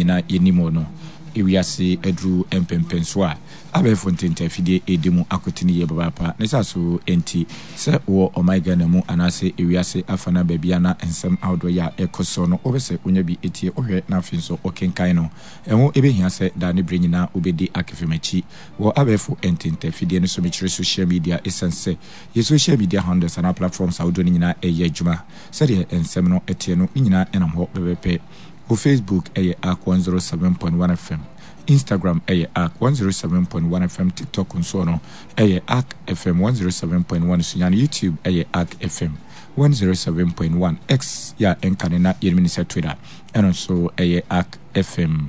Nyinaa yɛnim wɔ no. Ewiase aduru mpɛnpɛnsoɔ a abɛɛfo ntentafidie redi mu akotene yie papaapa. Ne saa so nti, sɛ wowɔ ɔman Ghana mu anaase ewiase afana baabi a na nsɛm ahodoɔ yi a ɛrekɔ soɔ no wopɛ sɛ wonya bi tie, wohwɛ na afei nso wokenkan no, ɛho bɛhia sɛ daa ne berɛ nyinaa wobɛdi Akefem akyi wɔ abɛɛfo ntentafidie no so, mekyerɛ social media, ɛsiane sɛ yɛ social media handles anaa platforms ahodoɔ no nyinaa reyɛ adwuma sɛdeɛ nsɛm no teɛ no, ne nyinaa nam hɔ pɛpɛpɛ. Wɔ Facebook ɛyɛ Ark 107.1 FM, Instagram ɛyɛ Ark 107.1 FM, TikTok nso no ɛyɛ Ark FM 107.1, Sunyani YouTube ɛyɛ Ark FM 107.1, X yɛ a ɛnka ne na yɛnim ne sɛ Twitter ɛno nso ɛyɛ Ark FM.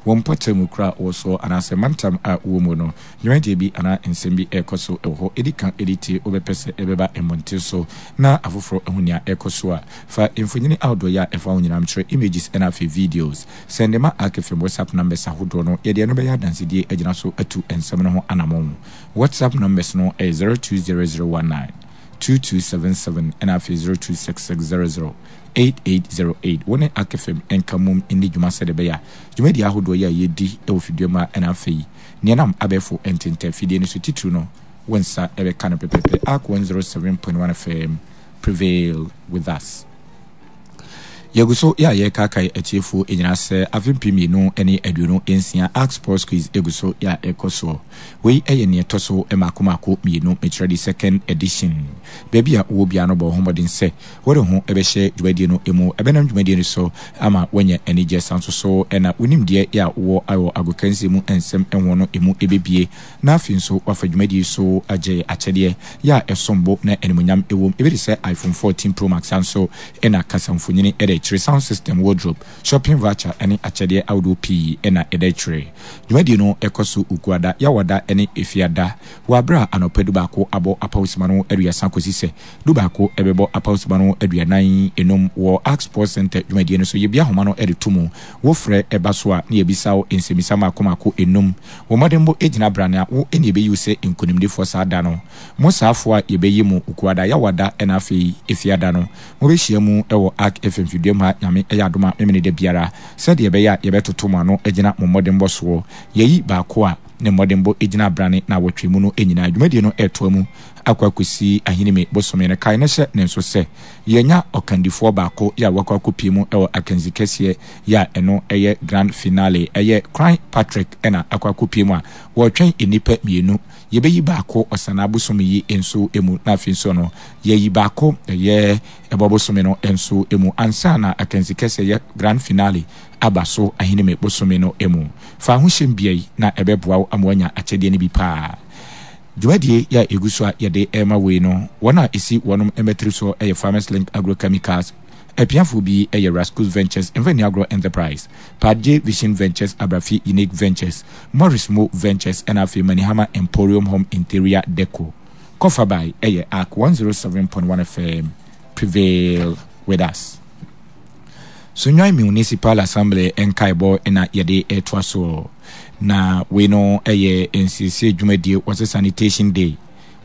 Wɔ mpɔtam kura a wɔ soɔ anaasɛ mantam a wowɔ mu no, dwumadie bi anaa nsɛm bi ɛrekɔ so wɔ hɔ, ɛdi kan ɛdi tie wobɛpɛ sɛ ɛbɛba mmɔnten so na afoforɔ ahu nea ɛrekɔ so a, Fa mfonini ahodoɔ yi a ɛfa ho nyinaa kyerɛ, images ɛna afei videos. Sɛnde ma Ark FM WhatsApp numbers ahodoɔ no, yɛde ɛno bɛyɛ adansedie agyina so atu nsɛm no ho anamɔn. WhatsApp numbers no yɛ 020019 2277 ɛna afei 026600 8808. Wo ne Ark FM nka mmom nni dwuma sɛdeɛ ɛbɛyɛ a dwumadie ahodoɔ yi a yɛdi wɔ fidua mu ha ɛna afei nea ɛnam abɛɛfo ntentɛ fidie no so titiriw no wo nsa bɛka no pɛpɛpɛ. Ark 107.1 FM. Prevail with us. Yɛgu so yɛ a yɛrekaakae atiefoɔ nyinaa sɛ afe 2026 Ark Sports Quiz gu so yɛ a ɛrekɔ soɔ. Wei yɛ nea ɛtɔ so mmaako mmaako mmienu, mekyerɛ the second edition. Baabi a wowɔ biara no bɔ wo ho mmɔden sɛ wode wo ho bɛhyɛ dwumadie no mu. Ɛbɛnam dwumadie no so ama woanya anigyeɛ san nso so na wo nimdeɛ yɛ a wowɔ wɔ agokansie mu nsɛm ho no ɛmu bɛbue. Na afei nso wafa dwumadie yi so agye akyɛdeɛ yɛ a ɛsom bo na animuonyam wom, ebi te sɛ iPhone 14 Pro Max, saa nso na kasamfonin da akyire, sound system, wardrobe, shopping voucher ne akyɛdeɛ ahodoɔ pii na ɛda akyire. Dwumadie no kɔ so Wukuada, Yawada ne Efiada wɔ aberɛ a anɔpa dubaako abɔ apawsima no aduasa kɔsi sɛ dubaako bɛbɔ apawsima no 45 wɔ Ark Sports Centre dwumadie no so. Yɛbue ahoma no de to mu, wofrɛ ba so a na yɛbisa wo nsɛmmisa mmaako mmaako nnum. Wo mmɔdenbɔ gyina brane a wo na yɛbɛyi wo sɛ nkonimdifoɔ saa da no. Mo saafoɔ a yɛbɛyi mo Wukuada, Yawada ɛna afei Efiada no, mobɛhyia mu wɔ Ark FM fidua mu ha Nyame yɛ adom a Memeneda biara, sɛdeɛ ɛbɛyɛ a yɛbɛtoto mo ano agyina mo mmɔdenbɔ soɔ. Yɛayi baako a ne mmɔdenbɔ gyina abrane naawɔtwe mu no nyinaa. Dwumadie no retoa mu akɔ akɔsi Ahinime bosome no. Kae na hyɛ ne nso sɛ, yɛanya ɔkandifoɔ baako yɛ a wakɔ akɔpie mu wɔ akansi kɛseɛ yɛ a ɛno yɛ Grand Finale. Ɛyɛ Kran Patrick na akɔ akɔpue mu a wɔretwɛn nnipa mmienu. Yɛbɛyi baako Ɔsanaa bosome yi nso mu na afei nso no yɛayi baako ɛyɛ Ɛbɔ bosome no nso mu ansa na akansi kɛseɛ yɛ Grand Finale aba so Ahinime bosome no mu. Fa ho hyɛm bia yi na ɛbɛboa wo ama woanya akyɛdeɛ no bi paa. Dwumadie yi a ɛgu so a yɛde rema wo yi no, wɔn a ɛsi wɔnom mmatiri soɔ yɛ Farmers Link Agrochemicals, Apiafoɔ bi yɛ Rascus Ventures, Mfani Agro Enterprise, Padje Vision Ventures, Abrafi Unique Ventures, Morris Mo Ventures ɛna afei Manihama Emporium Home Interior Deco. Kɔfabae yɛ Ark 107.1 FM. Prevail with us. Sunyani Municipal Assembly nkaebɔ na yɛde retoa soɔ. Na wei no yɛ nsiesie dwumadie wɔsɛ sanitation day.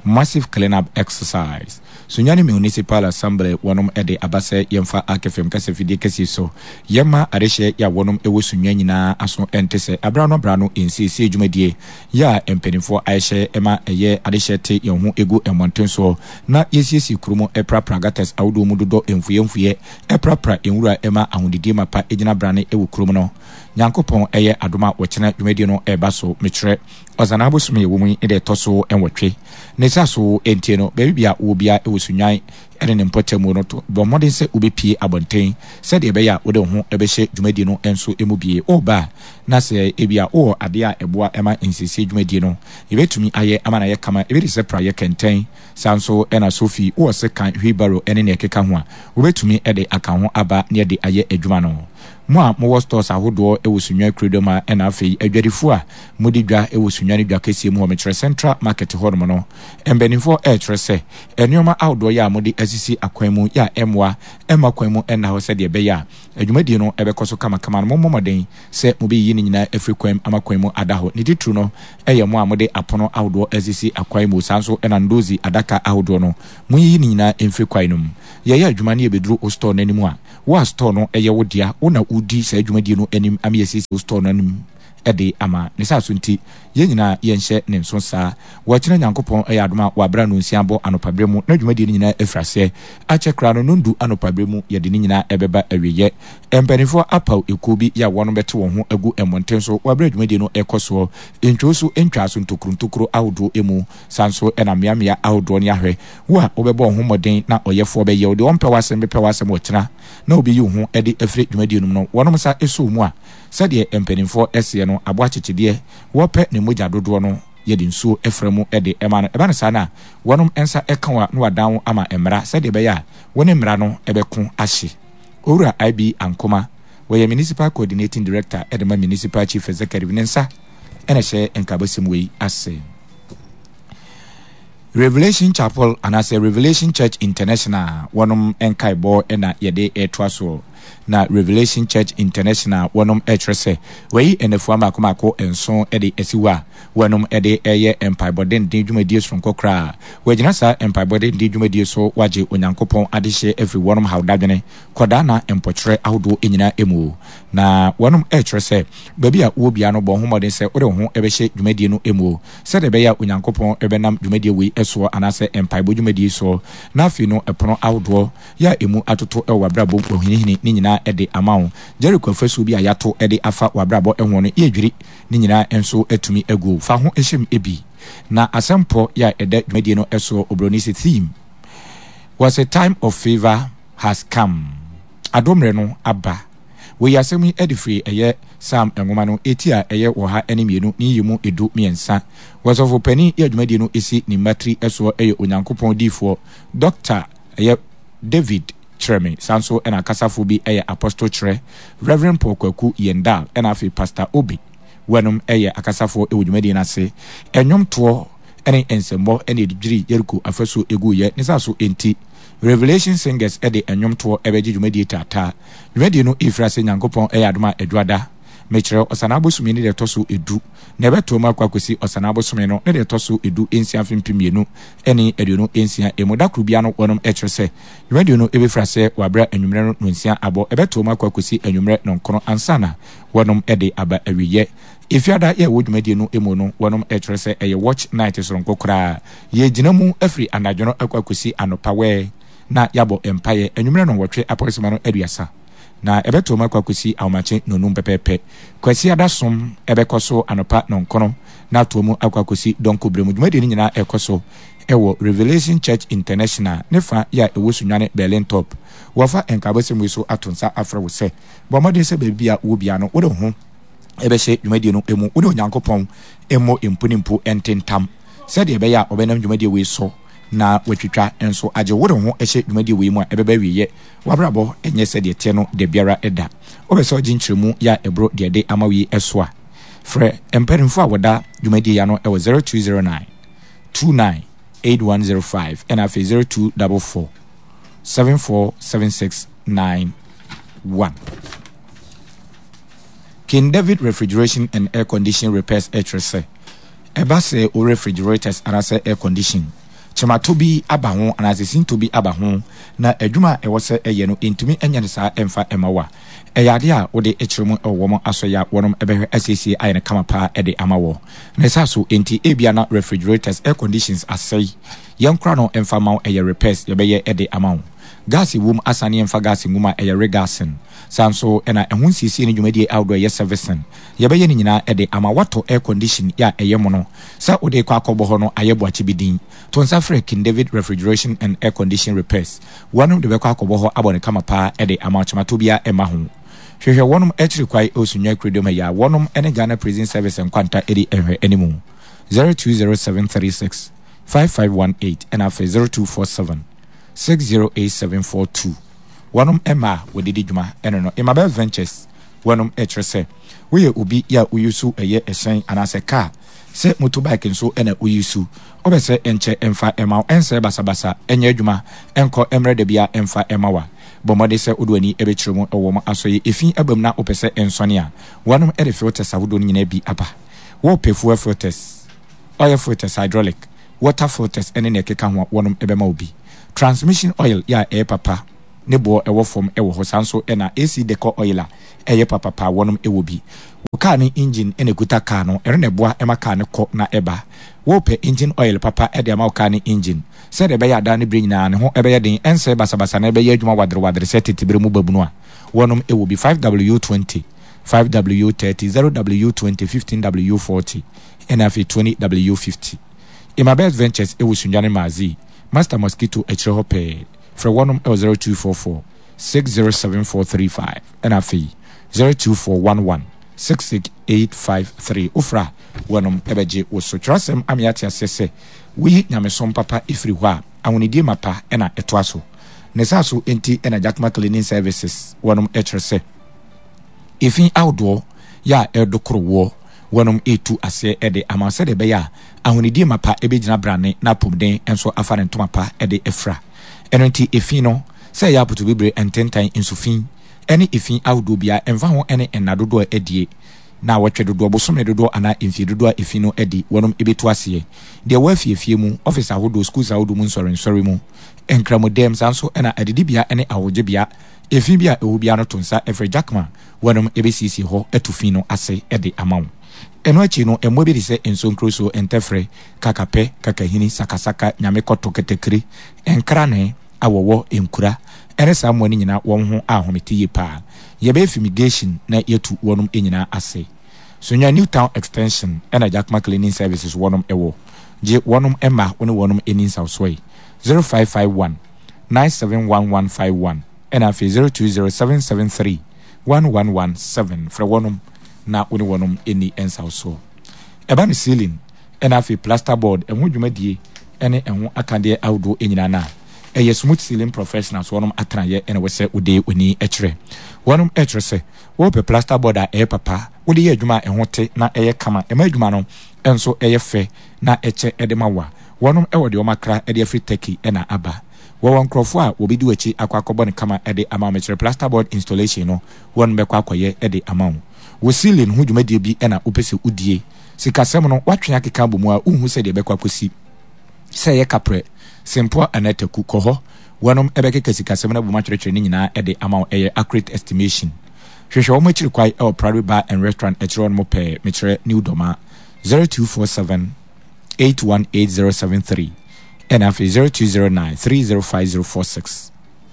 Massive clean-up exercise. Sunyani Municipal Assembly wɔnom de aba sɛ yɛmfa Ark FM kasafidie kɛseɛ so yɛmma adehyeɛ yɛ a wɔnom wɔ Sunyani nyinaa aso nte sɛ aberɛ ano aberɛ ano nsiesie dwumadie yɛ a mpaninfoɔ ayɛhyɛ ma ɛyɛ adehyeɛ te yɛn ho gu mmɔnten soɔ na yɛsiesie kuro mu prapra gutters ahodoɔ mu dodɔ mfuiɛ mfuiɛ prapra nwura ma ahonidie mapa gyina brane wɔ kurom no. Nyankopɔn yɛ adom a wɔkyena dwumadie no reba so mekyerɛ Ɔsanaa bosome a yɛwɔ mu yi ne da ɛtɔ so nwɔtwe. Ne sa so nti no, baabi biara a wowɔ biara wɔ Sunnwan ne ne mpɔtam no, to bɔ mmɔden sɛ wobɛpue abɔnten sɛdeɛ ɛbɛyɛ a wode wo ho bɛhyɛ dwumadie no nso mu bie. Woreba a, na sɛ ebia wowɔ adeɛ a ɛboa ma nsiesie dwumadie no, yɛbɛtumi ayɛ ama no ayɛ kama, ebi te sɛ praeɛ, kɛntɛn, saa nso na sofi, wowɔ sekan, wheelbarrow ne nea ɛkeka ho a, wobɛtumi de aka ho aba na yɛde ayɛ adwuma no. Mo a mowɔ stores ahodoɔ wɔ Sunnwan kurodua mu ha ɛna afei adwadifoɔ a modi dwa wɔ Sunyani dwa kɛseɛ mu hɔ, mekyerɛ Central Market hɔ nom no, mpaninfoɔ ɛrekyerɛ sɛ nnoɔma ahodoɔ yɛ a mode asisi akwan mu yɛ a ɛmmoa mma kwan mu nna hɔ sɛdeɛ ɛbɛyɛ a adwumadie no bɛkɔ so kamakama no, mommɔ mmɔden sɛ mobɛyiyi ne nyinaa afiri kwan mu ama kwan mu ada hɔ. Ne titiriw no yɛ mo a mode apono ahodoɔ asisi akwan mu, saa nso na ndozi adaka ahodoɔ no, monyiyi ne nyinaa mfiri kwan no mu. Yɛyɛ adwuma na yɛbɛduru wo store no anim a, Wo a store no yɛ wo dea, wo na wodi saa dwumadie no anim ama yɛasiesie wo store no anim de ama. Ne saa so nti, yɛn nyinaa yɛnhyɛ ne nso saa. Wɔkyena Nyankopɔn yɛ adom a, wɔ aberɛ a nnɔnsia bɔ anɔpa berɛ mu na dwumadie no nyinaa afiri aseɛ. Akyɛ koraa no, nnɔndu anɔpa berɛ mu yɛde ne nyinaa bɛba awieɛ. Mpanimfoɔ apaw ekuo bi yɛ a wɔn bɛte wɔn ho agu mmɔnten so wɔ aberɛ a dwumadie no rekɔ soɔ. Ntwoo so ntwaa so ntokuro ntokuro ahodoɔ mu. Saa nso na mmeammea ahodoɔ ne ahwɛ wo a wobɛbɔ wo ho mmɔden na ɔyɛfoɔ bɛyɛ wo deɛ ɔmpɛ w'asɛm bɛpɛ w'asɛm ɔkyena na wobɛyi wo ho de afiri dwumadie no mu no, wɔnom nsa sɔ wo mu a, sɛdeɛ mpanimfoɔ seɛ no, aboa kyekyedeɛ, wɔpɛ ne mogya dodoɔ no, yɛde nsuo fra mu de ma no. Ɛba no saa no a, wɔnom nsa ka wo a na wɔadan wo ama mmara sɛdeɛ ɛbɛyɛ a wo ne mmara no bɛko ahye. Owura IB Ankomah, wɔyɛ Municipal Coordinating Director de ma Municipal Chief Executive, ne nsa na ɛhyɛ nkaabɔsɛm wei ase. Revelation Chapel anaasɛ Revelation Church International wɔnom nkaebɔ na yɛde retoa soɔ. Na Revelation Church International wɔnom rekyerɛ sɛ wɔayi nnafua mmaako mmaako nson de asi hɔ a wɔnom de reyɛ mpaebɔ denden dwumadie soronko koraa. Wɔagyina saa mpaebɔ denden dwumadie so wɔagye Onyankopɔn adehyeɛ afiri wɔnom haw dadwene, kɔdaa na mpɔkyerɛ ahodoɔ nyinaa mu. Na wɔnom rekyerɛ sɛ baabi a wowɔ biara no bɔ ho mmɔden sɛ wode wo ho bɛhyɛ dwumadie no mu sɛdeɛ ɛbɛyɛ a Onyankopɔn bɛnam dwumadie wei soɔ anaasɛ mpaebɔ dwumadie yi soɔ na afei no ɛpono ahodoɔ yɛ a ɛmu atoto wɔ w'abrabɔ mu wahinihini ne nyinaa de ama wo. Jericho afasuo bi a yɛato de afa w'abrabɔ ho no yɛredwiri ne nyinaa nso atumi agu. Fa ho hyɛ mu bi. Na asɛmpɔ yɛ a ɛda dwumadie no soɔ obroni se theme was a time of favour has come. Adommerɛ no aba. Wɔyi asɛm yi adi firi ɛyɛ Psalm nwoma no eti a ɛyɛ 102 ne nyiyimu 13. Wɔsɔfo panin yɛ dwumadie no si ne mmatiri soɔ yɛ Onyankopɔn diyifoɔ Dɔkta ɛyɛ David Kyerɛme saa nso na akasafoɔ bi yɛ Apostle Kyerɛ, Rev. Paul Kwaku Yendal ɛna afei Pastor Obi Wɔnom yɛ akasafoɔ wɔ dwumadie no ase. Nnwomtoɔ ne nsɛmmɔ na ɛde dwirii Yeriko afasuo guiɛ ne saa so nti Revelation Singers de nnwomtoɔ bɛgye dwumadie taataa. Dwumadie no refiri ase Nyankopɔn yɛ adom a Adwuada, mekyerɛ Ɔsanaa bosome ne deɛ ɛtɔ so du, na ɛbɛtoa mu akɔ akɔsi Ɔsanaa bosome no ne deɛ ɛtɔ so du nsia mfe 2026 mu. Da koro biara no wɔnom kyerɛ sɛ dwumadie no bɛfiri aseɛ wɔ aberɛ a anwummerɛ no nonsia abɔ, ɛbɛtoa mu akɔ akɔsi anwummerɛ nɔnkron ansa na wɔnom de aba awieɛ. Efiada yɛ ɛwɔ dwumadie no mu no wɔnom kyerɛ sɛ ɛyɛ watch night soronko koraa. Yɛgyina mu firi anadwo no akɔ akɔsi anɔpa wɛɛ na yɛabɔ mpaeɛ anwummerɛ nnɔnwɔtwe apɔresema no aduasa na ɛbɛtoam akɔ akɔsi ahomakye nnɔnum pɛpɛɛpɛ. Kwasiada som bɛkɔ so anɔpa nnɔnkron na atoa mu akɔ akɔsi dɔnko berɛ mu. Dwumadie no nyinaa ɛrekɔ so wɔ Revelation Church International ne fa yɛ a ɛwɔ Sunyani Berlin Top. Wɔfa nkaabɔsɛm wei so ato nsa afrɛ wo sɛ bɔ mmɔden sɛ baabi a wowɔ biara no wode wo ho bɛhyɛ dwumadie no mu, wo ne Onyankopɔn mmɔ mpo ne mpo ntentam sɛdeɛ ɛbɛyɛ a ɔbɛnam dwumadie wei so na watwitwa nso agye wo. Wode wo ho hyɛ dwumadie wei mu a ɛbɛba awieɛ. W'abrabɔ nyɛ sɛdeɛ ɛteɛ no dabiara da. Wopɛ sɛ ɔgye nkyerɛmu yɛ a ɛboro deɛ ɛde ama wo yi so a, frɛ mpanimfoɔ a wɔda dwumadie yi ano wɔ 0209 29 8105 ɛna afei 0244 747691. King David Refrigeration and Air Condition Repairs kyerɛ sɛ, ɛba sɛ wo refrigerators anaasɛ air condition kyematɔ bi aba ho anaasɛ sintɔ bi aba ho na adwuma a ɛwɔ sɛ ɛyɛ no ɛntumi nyɛ no saa ɛmfa mma wo a, ɛyɛ adeɛ a wode kyerɛ mu wɔ wɔn asɔeɛ a wɔnom bɛhwɛ asiesie ayɛ no kama paa de ama wɔ. Ne saa so nti ebia na refrigerators, air conditions asɛe, yɛnkora no mfa mma wo, ɛyɛ repairs yɛbɛyɛ de ama wo. Gas wom asane yɛmfa gas ngu mu a ɛyɛ regassing. Saa nso na ɛho nsiesie ne dwumadie ahodoɔ a ɛyɛ servicing, yɛbɛyɛ ne nyinaa de ama woatɔ air condition yɛ a ɛyɛ mono sɛ wode rekɔ akɔbɔ hɔ no ayɛ boakye bi din. To nsa frɛ King David Refrigeration and Air Condition Repairs. Wɔnom de bɛkɔ akɔbɔ hɔ abɔ no kama paa de ama wo kyematɔ biara mma ho. Hwehwɛ wɔnom akyiri kwae wɔ Sunyani Kurodua mu ha yi a wɔnom ne Ghana Prison Service nkwanta di nhwɛ animu. 020736 5518 ɛna afei 0247 608742. Wɔnom mma a wɔde di dwuma ɛno no Emabel Ventures wɔnom ɛkyerɛ sɛ woyɛ obi yɛ a woyusu ɛyɛ ɛhyɛn anaasɛ car sɛ motor bike nso ɛna woyusu wopɛ sɛ ɛnkyɛ ɛmfa ɛma wo ɛnsɛe basabasa ɛnyɛ adwuma ɛnkɔ ɛmmerɛ dabia ɛmfa ɛma wo a bɔ mmɔden sɛ wode w'ani ɛbɛkyerɛ mu ɛwɔ wɔn asɔye efi aba mu na wopɛ sɛ ɛnsɔne a wɔnom ɛde filters ahodoɔ no nyinaa bi aba wopɛ fuel filters oil filters hydraulic water filters ɛne nea ɛkeka ho a wɔnom ɛbɛma wo bi transmission oil yɛ a ɛyɛ papa. ne boɔ ɛwɔ fam ɛwɔ hɔ. Saa nso na AC Decor Oil a ɛyɛ papapa wɔnom ɛwɔ bi. Wo kaa no engine na ɛkuta kaa no, ɛno na ɛboa ma kaa no kɔ na ɛba. Worepɛ engine oil papa de ama wo kaa no engine sɛdeɛ ɛbɛyɛ a daa ne berɛ nyinaa ne ho bɛyɛ den, ɛnsɛe basabasa na ɛbɛyɛ adwuma waderewadere sɛ tete berɛ mu babunu a, wɔnom wɔ bi 5W20, 5W30, 0W20, 15W40 ɛna afei 20W50. Emabeth Ventures wɔ Sunyani Maazii, Master Mosquito akyire hɔ pɛɛ. Frɛ wɔnom wɔ 0244 607435 ɛna afei 02411 66853. Wofrɛ a, wɔnom bɛgye wo so. Twerɛsɛm ama yɛate aseɛ sɛ, woyi nyamesom papa firi hɔ a, ahonidie mapa na ɛtoa so. Ne saa so nti na Jakma Cleaning Services wɔnom kyerɛ sɛ, efi ahodoɔ yɛ a ɛredokoro woɔ, wɔnom retu aseɛ de ama wo sɛdeɛ ɛbɛyɛ a ahonidie mapa bɛgyina brane na apomden nso afa ne ntoma pa de afira. Ɛno nti efi no, sɛ ɛyɛ apotobibire, ntentan, nsufi, ne efi ahodoɔ biara, ɛmfa ho ne nna dodoɔ a adie, naawɔtwe dodoɔ, bosome dodoɔ anaa mfie dodoɔ a efi no adi, wɔnom bɛtu aseɛ. Deɛ ɛwɔ afiefie mu, ɔfese ahodoɔ, schools ahodoɔ mu nsɔrensɔre mu, nkramodɛm, saa nso na adidibea ne ahɔhogyebea, efi bi a ɛwɔ biara no to nsa frɛ Jackman, wɔnom bɛsiesie hɔ atu fi no ase de ama wo. Ɛno akyi no, mmoa bi te sɛ nsonkrosuo, ntɛfrɛ, kakapɛ, kakahini, sakasaka, nyamekɔtɔ, katakire, nkranee, awɔwɔ, nkura, ne saa mmoa no nyinaa wɔn ho ahomete yie paa. Yɛbɛyɛ fumigation na yɛatu wɔnom nyinaa ase. Sunyani New Town Extension na Jakma Cleaning Services wɔnom wɔ. Gye wɔnom mma wo ne wɔnom nni nsawsoɔ yi, 0551 971151 ɛna afei 020773 1117. Frɛ wɔnom na wo ne wɔnom nni nsawsoɔ. Ɛba no ceiling ɛna afei plaster board ɛho dwumadie ɛne ɛho akadeɛ ahodoɔ nyinaa no a, ɛyɛ Smooth Ceiling Professionals wɔnom atenaeɛ ɛna ɛwɔ sɛ wode w'ani kyerɛ. Wɔnom ɛkyerɛ sɛ wopɛ plaster board a ɛyɛ papa, wode yɛ adwuma a ɛho te na ɛyɛ kama, ɛma adwuma no nso ɛyɛ fɛ na ɛkyɛ ɛde ma wo a, wɔnom ɛwɔ deɛ wɔn akra ɛde afiri Turkey ɛna aba. Wɔwɔ nkorɔfoɔ a wɔbɛdi w'akyi akɔ akɔbɔ no kama ɛde ama wo. Mekyerɛ plaster board installation no wɔnom bɛkɔ akɔyɛ ɛde ama wo. Wo ceiling ho dwumadie bi ɛna wopɛ sɛ wodie. Sikasɛm no, woatwe akeka abɔ mu a, wonhu sɛdeɛ ɛbɛkɔ akɔsi. Sɛ ɛyɛ kaprɛ, sempoa anaa taku, kɔ hɔ. Wɔnom bɛkeka sikasɛm no abom atwerɛtwerɛ ne nyinaa de ama wo. Ɛyɛ accurate estimation. Hwehwɛ wɔn akyiri kwae wɔ Priory Bar and Restaurant akyiri hɔnom pɛɛ, mekyerɛ New Dormaa, 0247 818073 ɛna afei 0209 305046.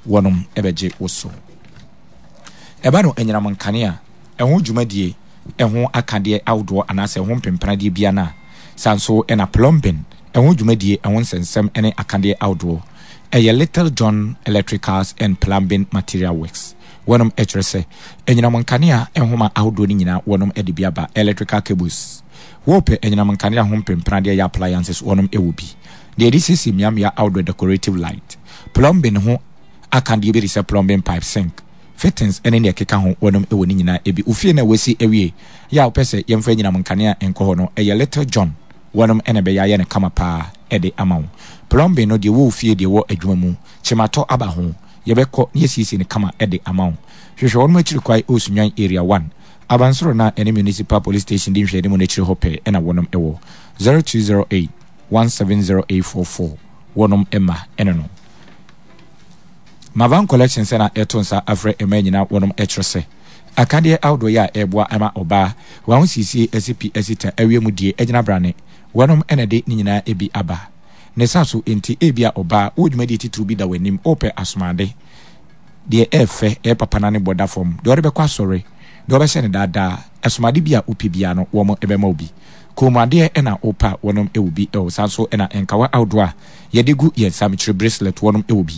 Wɔnom bɛgye wo so. Ɛba no anyinam nkanea, ɛho dwumadie, ɛho akadeɛ ahodoɔ anaasɛ ɛho mpempenadeɛ biara no a, saa nso na plumbing, ɛho dwumadie, ɛho nsɛnsɛm ne akadeɛ ahodoɔ. Ɛyɛ Little John Electricals and Plumbing Material Works. Wɔnom kyerɛ sɛ anyinam nkanea nhoma ahodoɔ no nyinaa wɔnom de bi aba, electrical cables. Wopɛ anyinam nkanea ho mpempenadeɛ yɛ appliances wɔnom wɔ bi. Deɛ yɛde siesie mmeammea ahodoɔ decorative light. Plumbing ho akadeɛ bi te sɛ plumbing pipe, sink, fittings ne nea ɛkeka ho wɔnom wɔ ne nyinaa bi. Wo fie no a woasi awie yɛ a wopɛ sɛ yɛmfa anyinam nkanea nkɔ hɔ no, ɛyɛ Little John wɔnom na ɛbɛyɛ ayɛ no kama paa de ama wo. Plumbing no deɛ ɛwɔ wo fie deɛ ɛwɔ adwuma mu, kyematɔ aba ho, yɛbɛkɔ na yɛasiesie no kama de ama wo. Hwehwɛ wɔnom akyiri kwae wɔ Sunyani Area 1, Abansoro no a ɛne Municipal Police Station di nhwɛanimu no akyiri hɔ pɛɛ na wɔnom wɔ. 0208 170844 wɔnom mma ne no. Mavan Collections na ɛto nsa afrɛ mmaa nyinaa wɔnom kyerɛ sɛ akadeɛ ahodoɔ yi a ɛreboa ama ɔbaa w'ahosiesie asi pi asi ta awie mu die agyina brane wɔnom na ɛde ne nyinaa bi aba. Ne sa so nti ebia ɔbaa wowɔ dwumadie titiriw bi da w'anim wopɛ asomade deɛ ɛɛfɛ ɛyɛ papa na ne bɔ da fam deɛ ɔde bɛkɔ asɔre deɛ ɔbɛhyɛ no daadaa asomade bi a wopɛ biara no wɔn bɛma wo bi. Kɔnmuadeɛ na wopɛ a wɔnom wɔ bi wɔ saa nso na nkawa ahodoɔ a yɛde gu yɛn nsa mekyerɛ bracelet wɔnom wɔ bi.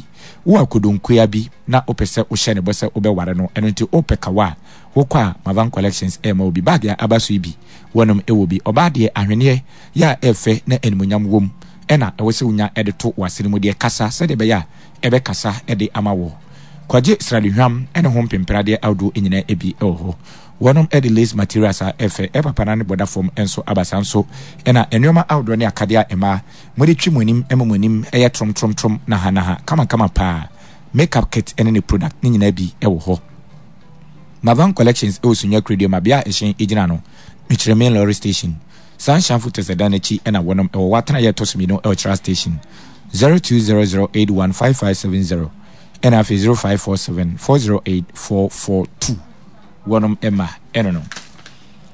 Wowɔ akodonkoa bi na wopɛ sɛ wohyɛ no bɔ sɛ wobɛware no ɛno nti wopɛ kawa a wokɔ a Mavan Collections ɛrema wo bi. Bag a aba so yi bi wɔnom wɔ bi. Ɔbaa deɛ ahweneɛ yɛ a ɛfɛ na animuonyam wom na ɛwɔ sɛ wonya de to w'asene mu deɛ kasa sɛdeɛ ɛbɛyɛ a ɛbɛkasa de ama wo. Kɔgye sradehwam ne ho mpempradeɛ ahodoɔ nyinaa bi wɔ hɔ. Wɔnom de lace materials a ɛfɛ, ɛpapa na ne bɔ da fam nso aba. Saa nso na nnoɔma ahodoɔ ne akadeɛ a mmaa mode twi mo anim ma mo anim yɛ tromtromtrom nahanaha kamakama paa. Makeup kit ne ne product ne nyinaa bi wɔ hɔ. Mavan Collections wɔ Sunyani Kurodua ma bea a ɛhyɛn gyina no, mekyerɛ main lorry station. Sunshine Footers ɛdan no akyi na wɔnom wɔ. Wɔ atenaeɛ a ɛtɔ so mmienu wɔ Kyerɛ Station. 0200815570. Ɛna afei 0547 408 442 wɔnom ɛma ɛno no.